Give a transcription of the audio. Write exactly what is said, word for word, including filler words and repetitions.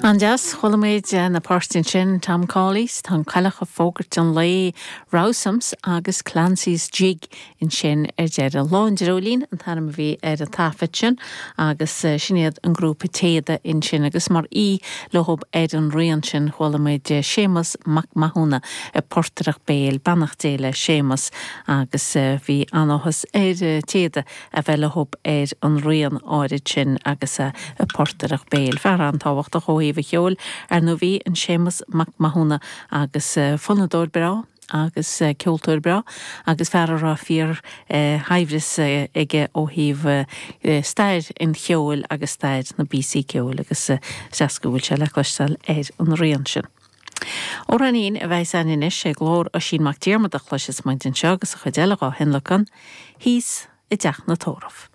An-deas chuala muid na páirtí sin Tom Cawley's tá an cailleach ag fógairt an lae Rowsom's agus Clancy's Jig ansin ar deireadh. Lá an Dreoilín an t-ainm a bhí ar an taifead sin agus sin iad an grúpa Téada ansin agus mar aoi leo ar an rian sin chuala muid Séamus Mac Mathúna ag portaireacht béil beannacht Dé le Séamus agus bhí an-áthas ar Téada a bheith leo ar an rian áirid sin agus a portaireacht béil. Fear an-tábhachtach ó thaobh an cheoil ar ndóigh bhí an Séamus Mac Mathúna agus fonnadóir breá agus ceoltóir breá agus fear a raibh fíor shaibhreas aige ó thaobh stair an cheoil agus stair na bpíosaí ceoil agus seans go bhfuil sé le cloisteáil ar an rian sin. Amhráinín a bheidh againn anois é glór Oisín Mac Diarmada a chloisfeas muid anseo agus a chuid eile dhá thionlacan, thíos i dteach na tórramh.